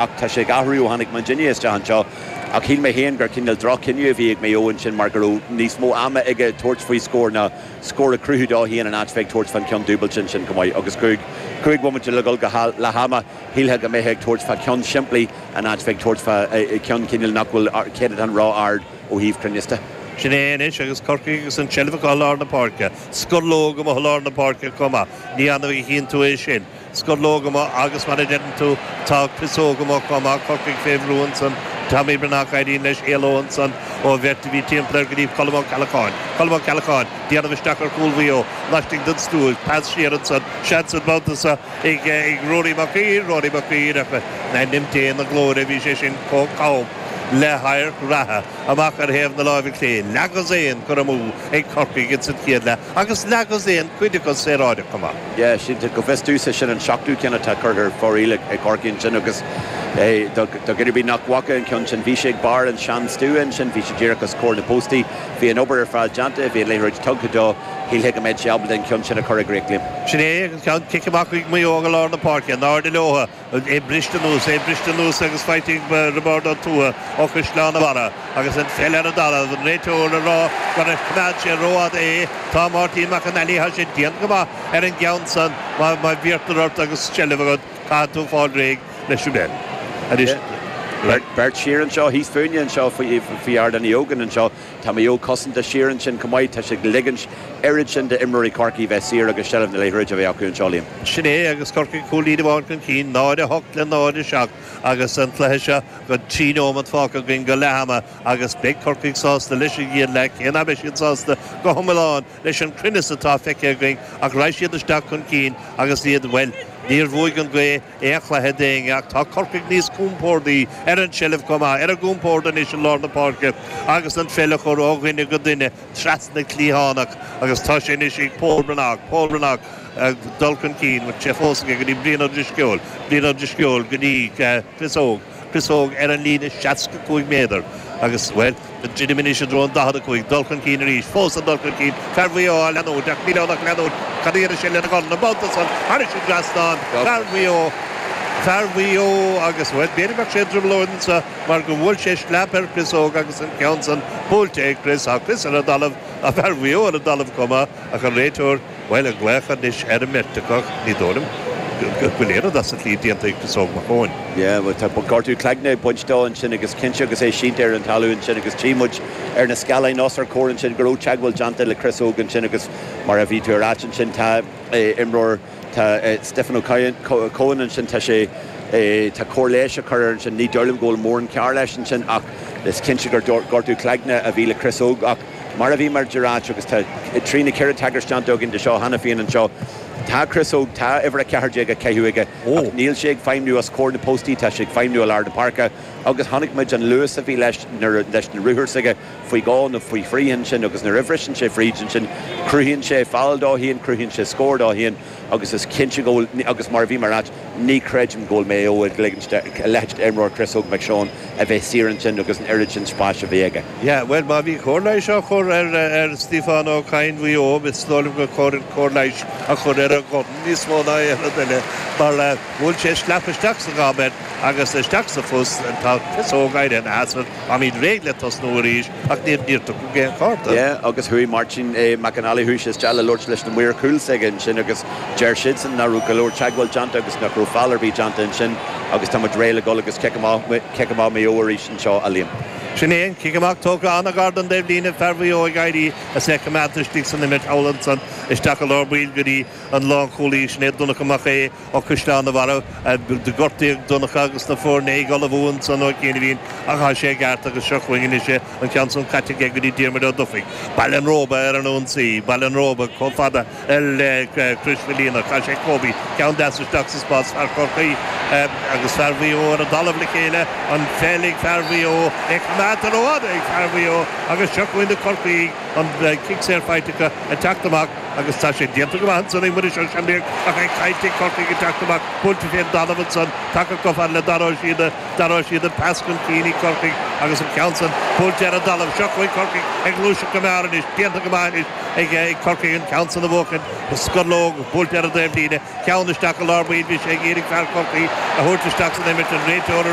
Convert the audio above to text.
Ach tá sé ag athrú ó tháinig muidinne isteach anseo. Ach shíl mé féin gur cineál droch-chinneadh a bhí ag Maigh Eo ansin mar go raibh níos mó ama aige tabhairt faoi scór ná scór a chruthú dó féin in áit bheith ag tabhairt fán cheann dúbailte ansin chomh maith. Agus 5 bhomaite le dhul go leath ama, shílfeá go mbeifeá ag tabhairt fá cheann simplí in áit bheith ag tabhairt fá cheann cineál nach bhfuil céatadán ró-ard ó thaobh cruinneas de. Sin é anois agus Corcaigh agus an tseilbh acu i lár na páirce. Scor leo amuigh i lár na páirce chomh maith. Ní annamh a chíonn tú é sin. Scor leo amuigh agus mar a deireann tú tá Chris Óg amuigh chomh maith, Corcaigh fé bhrú ansan, Tommy Breathnach éiríonn leis éaló ansan ó bheirt a bhí timpeall air go dtí Colm Ó Ceallacháin. Colm Ó Ceallacháin, déanamh isteach ar chúl Mhaigh Eo, laistigh den stua, pas siar ansan, seans an babhta seo ag Rory Mac Uidhir, Rory Mac Uidhir ach in ainm Dé na glóire bhí sé sin chomh cam le hadharc reatha. Amach ar thaobh na láimhe clé, leathdhosaen curtha amú ag Corcaigh ins an chéad leath agus leathdhosaen cuid acu saoráideach chomh maith. Yeah, sin, go bhfios domhsa, sin an seachtú ceann atá curtha ar fóraoil ag Corcaigh ansin agus do dhuine ar bith nach bhfaca an ceann sin, bhí sé ag barr an sean-stua ansin, bhí sé díreach os comhair na bpóstaí, bhí an obair ar fad déanta, bhí an liathróid tugtha dó, shílfeá go mbeadh sé ábalta an ceann sin a chur i gcríoch, Liam. Sin é an ceann, cic amach chuig Maigh Eo i lár na páirce, in airde leo. É briste anuas, é briste anuas agus faighte ag Roibeárd Ó Tuathaigh ó Chaisleán an Bharraigh agus an pheil ar an dtalamh, an réiteoir ag rá gur choimeád sé rófhada é. Tá Máirtín Mac an Ailí, tá sé déanta go maith ar an gceann san, má bhíortar ort agus seilbh agat, caithfidh tú fáil réidh leis an bpeil. Anois. Beirt siar anseo, thíos fúinne anseo faoi Ardán Uí Ógáin anseo. Tá Maigh Eo cosanta siar ansin chomh maith. Tá siad ag ligint oiread sin d'imreoirí Chorcaí bheith saor agus seilbh na liathróide a bheith acu anseo, Liam. Sin é agus Corcaigh cúilín amháin chun cinn, 0-8 le 0-7 agus an cluiche seo go 3 nóiméad fágtha againn go leath ama agus beidh Corcaigh sásta leis an gcéad leath, cé nach mbeidh siad sásta go hiomlán leis an cruinneas atá feicthe againn ach raghaidh siad isteach chun cinn agus iad, bhuel, níor bhuaigh an ghaoth aon chluiche d'éinne ach tá Corcaigh níos compórdaí ar an tseilbh chomh maith, ar a gcompord anois i lár na páirce agus an pheil a chur ó dhuine go duine trasna cliathánach agus tá sé anois ag Pól Breathnach, Pól Breathnach ag dul chun cinn, bhfuil sé fós aige go dtí Brian Ó Drisceoil, Brian Ó Drisceoil go dtí Chris Óg, Chris Óg ar an líne 65 méadar agus, bhuel, ag druidim anois i dtreo an 45, dul chun cinn arís, fós ag dul chun cinn, fear Mhaigh Eo á leanúint ach níl ann ach leanúint, cad a dhéanfaidh sé lena dhorn, an babhta san, thairis an dtrasnán, fear Mhaigh Eo, fear Mhaigh Eo agus, bhuel, b'fhéidir go mbeadh sé i dtrioblóid anseo mar go bhuail sé sleap ar Chris Óg agus an ceann san buailte ag Chris, tá Chris ar an dtalamh, tá fear Mhaigh Eo ar an dtalamh chomh maith ach an réiteoir, Bhuel, ag glaoch anois ar an mbeirt acu, ní dóigh liom go bhfuil aon rud as an tslí déanta ag Chris Óg Mac Eoin. Yeah, bhuel, tá gortú cloigne ag baint dó ansin agus cinnte agus é sínte ar an talamh ansin agus tchí muid ar na scáileáin os ár gcomhair ansin go raibh teagmháil déanta le Chris Óg ansin agus mar a bhí tú a ráit ansin tá imreoir, tá Stephen O'Cohen ansin, tá sé, tá cóir leighis á cur air ansin, ní dóigh liom go bhfuil mórán cearr leis ansin ach is cinnte gur gortú cloigne a bhí le Chris Óg ach Mar a bhí muid a ráit, agus tá trí nó ceithre tagairt déanta againn de seo cheana féin anseo, tá Chris Óg, tá uimhir 14 á caitheamh aige ach níl sé ag feidhmniú os comhair na bpostaí, tá sé ag feidhmniú i lár na páirce agus chonaic muid an luas a bhí leis nuair leis na ruthair s'aige faoi dhó nó faoi thrí ansin agus nuair a bhriseann sé fríd ansin cruthaíonn sé feall dó féin, cruthaíonn sé scór dó féin agus is cinnte go bhfuil, agus mar a bhí mé a ráit, Ní chreidim go bhfuil Maigh Eo ag ligint a leithéid d'imreoir Chris Óg McShane a bheith saor ansin agus an oiread sin spáis a bheith aige. Yeah, bhuel, má bhí cóir leighis á chur ar ar Stiofán Ó Cadhain Mhaigh Eo, is dóigh liom gur chóir an cóir leighis a chur ar a dhorn níos mó ná aon rud eile mar bhuail sé sleap isteach sa ghob air agus isteach sa phus. Tá Chris Óg éirithe ina sheasamh, táimid réidh le tosnú arís ach níor níor tugadh aon chárta. Yeah, agus chuaigh Máirtín Mac an Fhailigh, chuaigh sé isteach le labhairt leis na maoir chúil s'aige ansin agus Deir siadsan nach raibh go leor teagmháil déanta agus nach raibh feall ar bith déanta ansin agus tá muid réidh le dhul agus cic amach, cic amach Maigh Eo arís anseo, a Liam. Sin é an cic amach tógtha an-ghar don dtaobhlíne, fear Mhaigh Eo ag éirí as é coimeádta istigh san imirt thall ansan isteach i lár baill go dtí an lánchúlaí, sin é Donncha Mac Aodha ó Chaisleán an Bharraigh. Gortaíodh Donncha agus na foirne ag ullmhú ansan ó chianaibhín ach tá sé i gceart agus seo chugainn anois é, an ceann san caite aige go dtí Diarmuid Ó Dufaigh. Baile an Róba ar an ionsaí, Baile an Róba chomh fada le Crois Mhaoilíona. Chaith sé Kobe, ceann deas isteach sa spás, fear Chorcaí agus fear Mhaigh Eo ar an dtalamh le chéile, an pheil ag fear Mhaigh Eo, é coimeádta. Coimeádta rófhada ag fear Mhaigh Eo agus seo chugainn na Corcaígh, an cic saor faighte acu ag teacht amach agus tá sé déanta go maith ansan ag Muiris Ó Séanlaoich ach é caillte ag Corcaigh ag teacht amach, buailte fén dtalamh ansan, tagtha chomh fada le Dara Ó Síoda, Dara Ó Síoda pas chun cinn ag Corcaigh agus an ceann san buailte ar an dtalamh. Seo chugainn Corcaigh ag gluaiseacht go mear anois, déanta go maith anois ag Corcaigh an ceann san a bhuachaint, scorlóg buailte ar an dtaobhlíne, ceann isteach i lár baill, bhí sé ag iarraidh fear Chorcaí a thabhairt isteach san imirt, an réiteoir a.